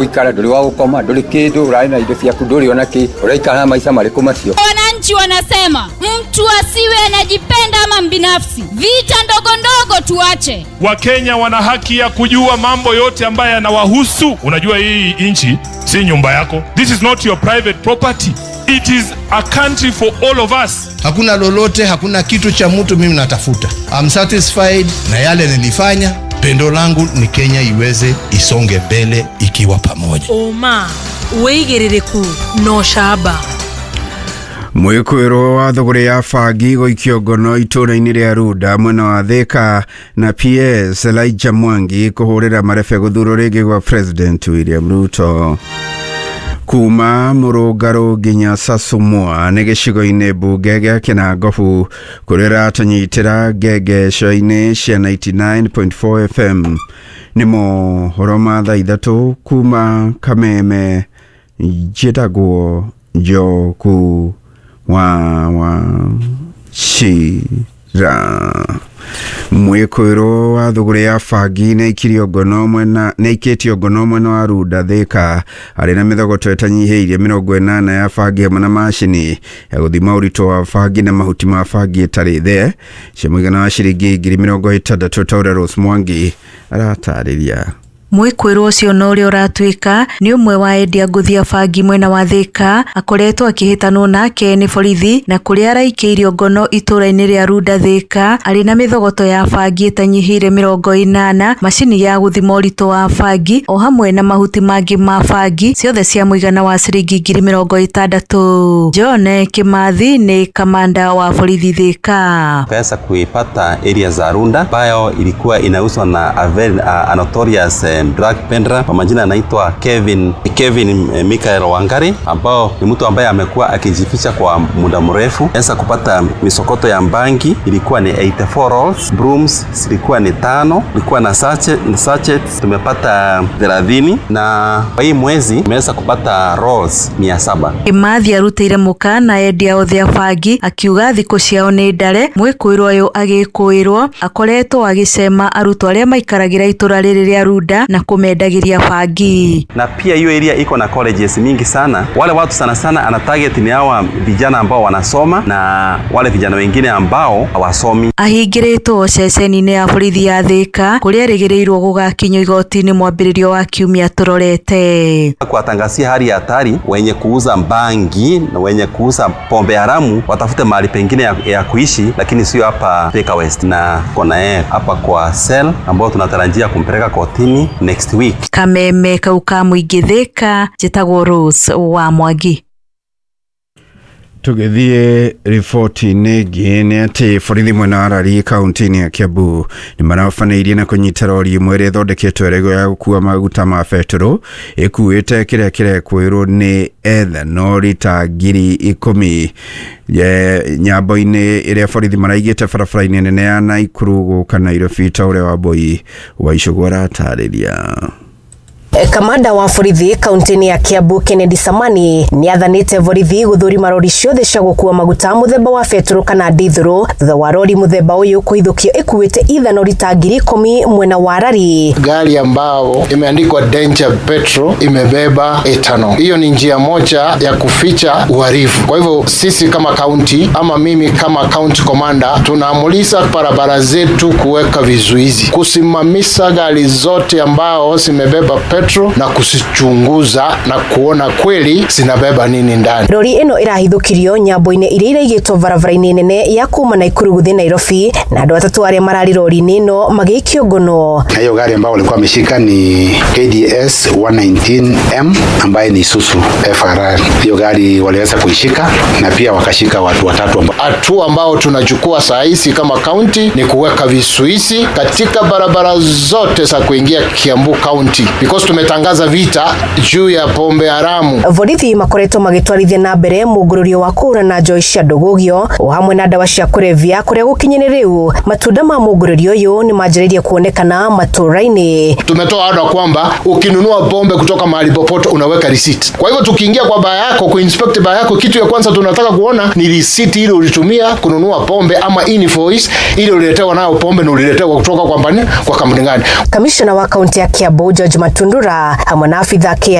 Gũikara ndũrĩ wa gũkoma, ndũrĩ kĩndũ, ũrarĩ na indo ciaku, ndũrĩ ona kĩ, ũraikara maica marĩkũ macio? Wananchi wanasema mtu asiwe anajipenda ama mbinafsi, vita ndogo ndogo tuache. Wakenya wana haki ya kujua mambo yote ambayo yanawahusu. Unajua hii nchi si nyumba yako. This is not your private property. It is a country for all of us. Hakuna lolote, hakuna kitu cha mtu mimi natafuta. I'm satisfied na yale nilifanya. Pendo langu ni Kenya iweze isonge mbele ikiwa pamoja. Ũma, wĩigĩrĩrĩku na ũcamba. Mwĩkũĩrwo wa thũgũrĩ ya bangi gũikio ngono itũũra-inĩ rĩa Runda mwena wa Thika na PS Elijah Mwangi kũhũrĩra marebe gũthurwo rĩngĩ gwa President William Ruto. Kuma Mũrũngarũ nginya Sasumua nĩ gĩcigo-inĩ mbunge gĩa Kĩnangobu kũrĩa ĩratũnyitĩra ngengeco-inĩ cia 99.4 FM. Nĩ mohoro ma thaa ithatũ kuma Kameme, njĩtagwo Njoku wa Wachira. Mwĩkũĩrwo wa thũgũrĩ ya bangi nĩaikĩtio ngono mwena wa Runda Thika arĩ na mĩthogoto ĩtanyihĩirie 80 ya bangi hamwe na macini ya gũthima ũritũ wa bangi na mahuti ma bangi ĩtarĩ the cia mũigana wa ciringi 60,000 ta ũrĩa Rose Mwangi aratarĩria. Mwĩkũĩrwo ũcio na ũrĩa ũratuĩka nĩ ũmwe wa endia ngũthi a bangi mwena wa Thika akoretwo akĩhĩtanwo nake nĩ borithi na kũrĩa araikĩirio ngono itũũra-inĩ rĩa Runda Thika arĩ na mĩthogoto ya bangi ĩtanyihĩire 80, macini ya gũthima ũritũ wa bangi o hamwe na mahuti mangĩ ma bangi ciothe cia mũigana wa ciringi 60,000. John Kimathi nĩ kamanda wa borithi Thika. Tukaweza kuipata area za Runda ambayo ilikuwa inauzwa na a very a notorious drug peddler kwa majina anaitwa Kevin Michael Wangari, ambao ni mtu ambaye amekuwa akijificha kwa muda mrefu. Sasa kupata misokoto ya bangi ilikuwa ni 84 rolls, brooms zilikuwa ni 5, ilikuwa na sachets tumepata 30, na kwa hii mwezi tumeweza kupata rolls 700. Kimathi arutĩire mũkana endia othe a bangi akiuga thikũ ciao nĩ ndare. Mwĩkũĩrwo ũyũ agĩkũĩrwo akoretwo agĩcema arutwo arĩa maikaragĩra itũra rĩrĩ rĩa Runda na kumendagĩria bangi. Na pia hiyo area iko na colleges mingi sana. Wale watu sana sana ana target ni hawa vijana ambao wanasoma na wale vijana wengine ambao hawasomi. Ahingĩrĩtwo ceceni-inĩ ya borithi ya Thika kũrĩa erĩgĩrĩirwo gũgakinyio igoti-inĩ mwambĩrĩrio wa kiumia tũrorete. Kuwatangazia hali ya hatari wenye kuuza bangi na wenye kuuza pombe haramu watafute mahali pengine ya kuishi, lakini sio hapa Thika West. Na kona yeye hapa kwa cell ambao tunatarajia kumpeleka kotini next week. Kameme kauka mũingĩ Thika, njĩtagwo Rose wa Mwangi. Tũgĩthiĩ riboti-inĩ ĩngĩ nĩ atĩ borithi mwena wa Rari kaunti-inĩ ya Kiambu nĩ marabanĩirie na kũnyita rori ĩmwe ĩrĩa ĩthondeketwo ĩrĩ ya gũkua maguta ma betũrũ ĩkuĩte kĩrĩa kĩrekwĩrwo nĩ ethanol ta 10,000 nyambo-inĩ ĩrĩa borithi maraigĩte barabara-inĩ nene ya Naikuru gũka Nairobi ta ũrĩa Wambui wa Icũgũ aratarĩria. Kamanda wa borithi kaunti-inĩ ya Kiambu Kennedy Samani nĩathanĩte borithi gũthũrima rori ciothe cia gũkua maguta mũthemba wa betũrũ kana ndithũrũ thutha wa rori mũthemba ũyũ kũhithũkio ĩkuĩte ithanori ta 10,000 mwena wa Rari. Gari ambao imeandikwa Danger Petrol imebeba ethanol. Hiyo ni njia moja ya kuficha uhalifu. Kwa hivyo sisi kama kaunti ama mimi kama county commander tunaamuliza barabara zetu kuweka vizuizi, kusimamisha gari zote ambao zimebeba petrol na kusichunguza na kuona kweli zinabeba nini ndani. Rori ĩno ĩrahithũkirio nyambo-inĩ iria iraigĩtwo barabara-inĩ nene ya kuma Naikuru gũthiĩ Nairobi na andũ atatũ arĩa mararĩ rori-inĩ ĩno magĩikio ngono. Na hiyo gari ambao walikuwa wameshika ni KDS 119M ambaye ni Isuzu FRR. Hiyo gari waliweza kuishika na pia wakashika watu watatu. Hatua ambao tunachukua saa hizi kama county ni kuweka vizuizi katika barabara zote za kuingia Kiambu County because tumetangaza vita juu ya pombe haramu. Borithi makoretwo magĩtwarithia na mbere mũngũrũrio wa kũhũrana njohi cia ndũgũgio o hamwe na ndawa cia kũrebia kũrĩa gũkinyĩrĩ rĩu matunda ma mũngũrũrio ũyũ nĩ manjĩrĩirie kuonekana matũra-inĩ. Tumetoa oda kwamba ukinunua pombe kutoka mahali popote unaweka receipt. Kwa hivyo tukiingia kwa baa yako kuinspect baa yako, kitu ya kwanza tunataka kuona ni receipt ile ulitumia kununua pombe ama invoice ile uliletewa nayo pombe na uliletewa kutoka kwa kampuni gani. Kamishna wa kaunti ya Kiambu George Matundu Karura hamwe na abitha